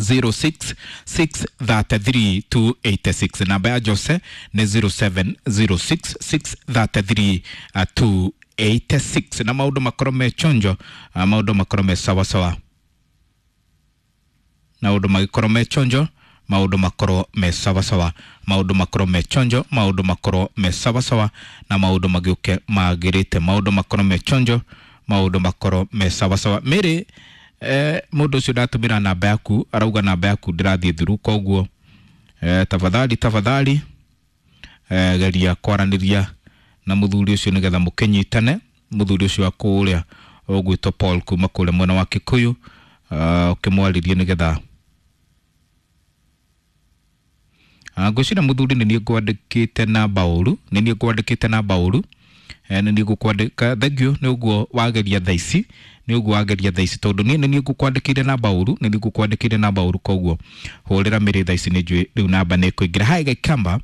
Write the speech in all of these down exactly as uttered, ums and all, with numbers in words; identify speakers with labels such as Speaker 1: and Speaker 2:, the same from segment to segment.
Speaker 1: zero six six thirty three two eighty six. Namba ya Jose nĩ zero seven zero six six thirty three two eighty six. Na maũndũ makorwo me chonjo, maũndũ makorwo me sawa sawa, maũndũ magĩkorwo me chonjo, maũndũ makorwo me sawa sawa, maũndũ makorwo me chonjo, maũndũ makorwo me sawa sawa, na maũndũ magĩũke magĩrĩte, maũndũ makorwo me chonjo, maũndũ makorwo me sawa sawa. Mary, eh, mũndũ ũcio ndatũmĩra namba yaku arauga namba yaku ndĩrathiĩ thuru, koguo eh, tafadhali tafadhali eh, geria kwaranĩria na mũthuri ũcio nĩgetha mũkĩnyitane. Mũthuri ũcio wa kũrĩa ũgwĩtwo Paul kuma kũrĩa mwena wa Kikuyu, uh, ũkĩmwarĩrie nĩgetha ngwĩciria mũthuri nĩ niĩ ngwandĩkĩte namba ũru, nĩ niĩ ngwandĩkĩte namba ũru, nĩ niĩ ngũkwandĩka. Thank you nĩ ũguo wageria thaa ici, nĩ ũguo wageria thaa ici, tondũ niĩ nĩ niĩ ngũkwandĩkĩire namba ũru, nĩ niĩ ngũkwandĩkĩire namba ũru, koguo hũrĩra Mĩrĩ thaa ici, nĩ njũĩ rĩu namba nĩ ĩkũingĩra. Hi Gaikamba,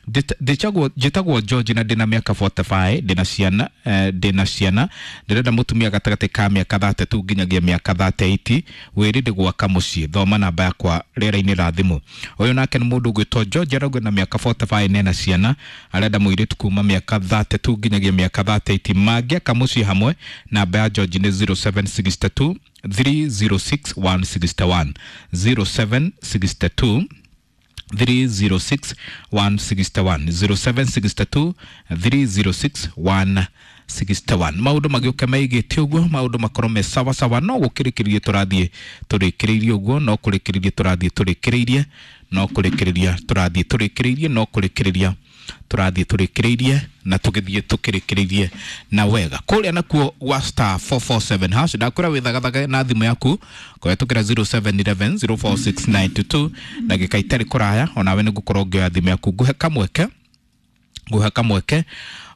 Speaker 1: ndĩtagwo njĩtagwo George na ndĩna mĩaka forty-five, ndĩna ciana, eh, ndĩna ciana, ndĩrenda mũtumia gatagatĩ ka mĩaka thirty-two nginyagia mĩaka thirty-eight, wĩrĩ ndĩ gwaka mũciĩ, thoma namba yakwa rĩera-inĩ ra thimũ. Ũyũ nake nĩ mũndũ ũgwĩtwo George, arauga na mĩaka forty-five nena ciana, arenda mũirĩtu kuma mĩaka thirty-two nginyagia mĩaka thirty-eight, mangĩaka mũciĩ hamwe. Namba ya George nĩ zero seven six two three zero six one six one, zero seven six two three zero six one six one, zero seven six two three zero six one six one. Maũndũ magĩũke maigĩte ũguo, maũndũ makorwo me sawa sawa, no gũkĩrĩkĩrĩria tũrathiĩ tũrĩkĩrĩirie ũguo, no kũrĩkĩrĩria tũrathiĩ tũrĩkĩrĩirie, no kũrĩkĩrĩria tũrathiĩ tũrĩkĩrĩirie, no kũrĩkĩrĩria tũrathiĩ tũrĩkĩrĩirie, na tũgĩthiĩ tũkĩrĩkĩrĩirie na wega. Kũrĩa nakuo gwa star four four seven hash, ndakwĩra wĩthagathage na thimũ yaku kũhetũkĩra zero seven eleven zero four six nine two two, ndagĩka itarĩ kũraya onawe nĩ ngũkorwo ngĩoya thimũ yaku, ngũhe kamweke, ngũhe kamweke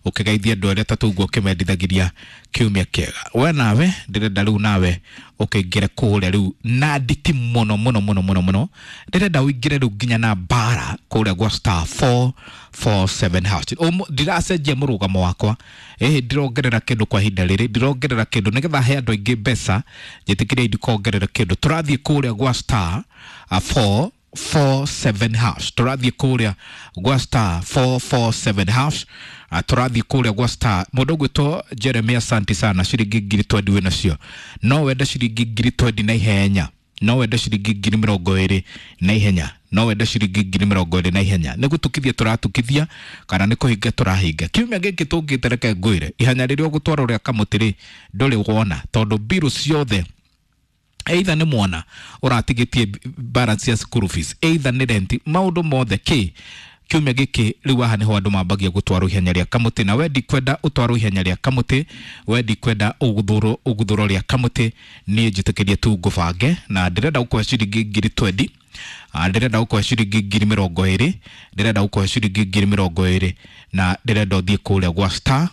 Speaker 1: ũkĩgeithia andũ arĩa atatũ ũguo ũkĩmendithagĩria kiumia kĩega. We nawe ndĩrenda rĩu nawe ũkĩingĩre kũrĩa rĩu na nditi mũno mũno mũno mũno mũno, ndĩrenda ũingĩre rĩu nginya na mbara kũrĩa gwa star four four seven hash. Ndiracenjia mũrũgamo wakwa, ĩhĩ ndirongerera kĩndũ kwa ihinda rĩrĩ, ndirongerera kĩndũ nĩgetha he andũ aingĩ mbeca, njĩtĩkĩrie ndikongerera kĩndũ. Tũrathiĩ kũrĩa gwa star four four seven hash, tũrathiĩ kũrĩa gwa star four four seven hash, tũrathiĩ kũrĩa gwa star. Mũndũ ũgwĩtwo Jeremiah, asante sana, ciringi ngiri twendi wĩ nacio, no wende ciringi ngiri twendi na ihenya, no wende ciringi ngiri mĩrongo ĩrĩ na ihenya, no wende ciringi ngiri mĩrongo ĩrĩ na ihenya. Nĩ gũtukithia tũratukithia kana nĩ kũhinga tũrahinga. Kiumia gĩkĩ tũngĩte, reke ngwĩre ihenya rĩrĩa ũgũtwarwo rĩa kamũtĩ rĩ ndũrĩ wona, tondũ mbirũ ciothe either nĩ mwana ũratigĩtie balance ya school fees, either nĩ rent, maũndũ mothe kĩ kiumia gĩkĩ rĩu haha nĩho andũ mambagia gũtwarwo ihenya rĩa kamũtĩ. Na we ndikwenda ũtwarwo ihenya rĩa kamũtĩ, we ndikwenda ũguthũrwo ũguthũrwo rĩa kamũtĩ, niĩ njĩtĩkĩrie tu ngũbange, na ndĩrenda gũkũhe ciringi ngiri twendi, ndĩrenda gũkũhe ciringi ngiri mĩrongo ĩrĩ, ndĩrenda gũkũhe ciringi ngiri mĩrongo ĩrĩ, na ndĩrenda ũthiĩ kũrĩa gwa star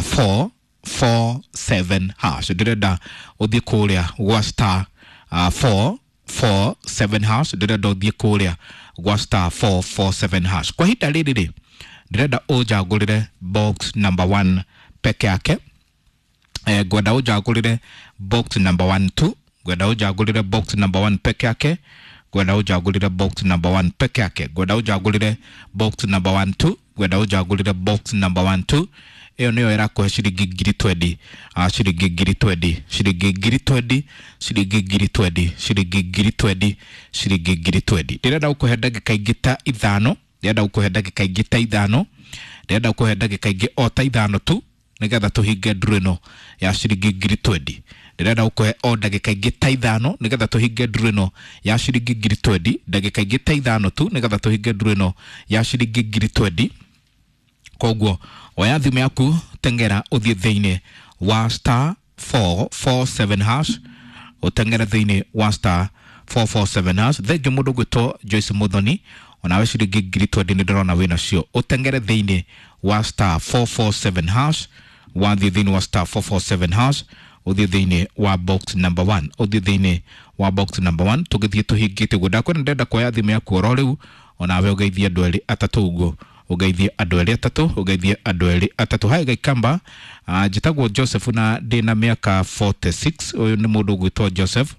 Speaker 1: four four seven hash, ndĩrenda ũthiĩ kũrĩa gwa star four four seven hash, ndĩrenda ũthiĩ kũrĩa gwa star four four seven hash. Kwa ihinda rĩrĩ rĩ ndĩrenda ũnjagũrĩre box number one peke yake, eh, ngwenda ũnjagũrĩre box number one two, ngwenda ũnjagũrĩre box number one peke yake, ngwenda ũnjagũrĩre box number one peke yake, ngwenda ũnjagũrĩre box number one two, ngwenda ũnjagũrĩre box number one two. Ĩyo nĩyo ĩrakũhe ciringi ngiri twendi, ciringi ngiri twendi, ciringi ngiri twendi, ciringi ngiri twendi, ciringi ngiri twendi, ciringi ngiri twendi. Ndĩrenda gũkũhe ndagĩka ingĩ ta ithano, ndĩrenda gũkũhe ndagĩka ingĩ ta ithano, ndĩrenda gũkũhe ndagĩka ingĩ o ta ithano tu nĩgetha tũhinge nduru ĩno ya ciringi ngiri twendi. Ndĩrenda gũkũhe o ndagĩka ingĩ ta ithano nĩgetha tũhinge nduru ĩno ya ciringi ngiri twendi, ndagĩka ingĩ ta ithano tu nĩgetha tũhinge nduru ĩno ya ciringi ngiri twendi. Koguo oya thimũ yaku, tengera ũthiĩ thĩinĩ wa star four four seven hash, ũtengere thĩinĩ wa star four four seven hash. Thengiũ mũndũ ũgwĩtwo Joyce Muthoni, onawe ciringi ngiri twendi nĩ ndĩrona wĩ nacio, ũtengere thĩinĩ wa star four four seven hash, wathiĩ thĩinĩ wa star four four seven hash, ũthiĩ thĩinĩ wa box number one, ũthiĩ thĩinĩ wa box number one, tũgĩthiĩ tũhingĩte ũguo. Ndakwĩra ndĩrenda kuoya thimũ yaku oro rĩu, onawe ũgeithie andũ erĩ atatũ ũguo, ũgeithie andũ erĩ atatũ, ũgeithie andũ erĩ atatũ. Hai Gaikamba, njĩtagwo Joseph na ndĩna mĩaka forty-six. Ũyũ nĩ mũndũ ũgwĩtwo Joseph.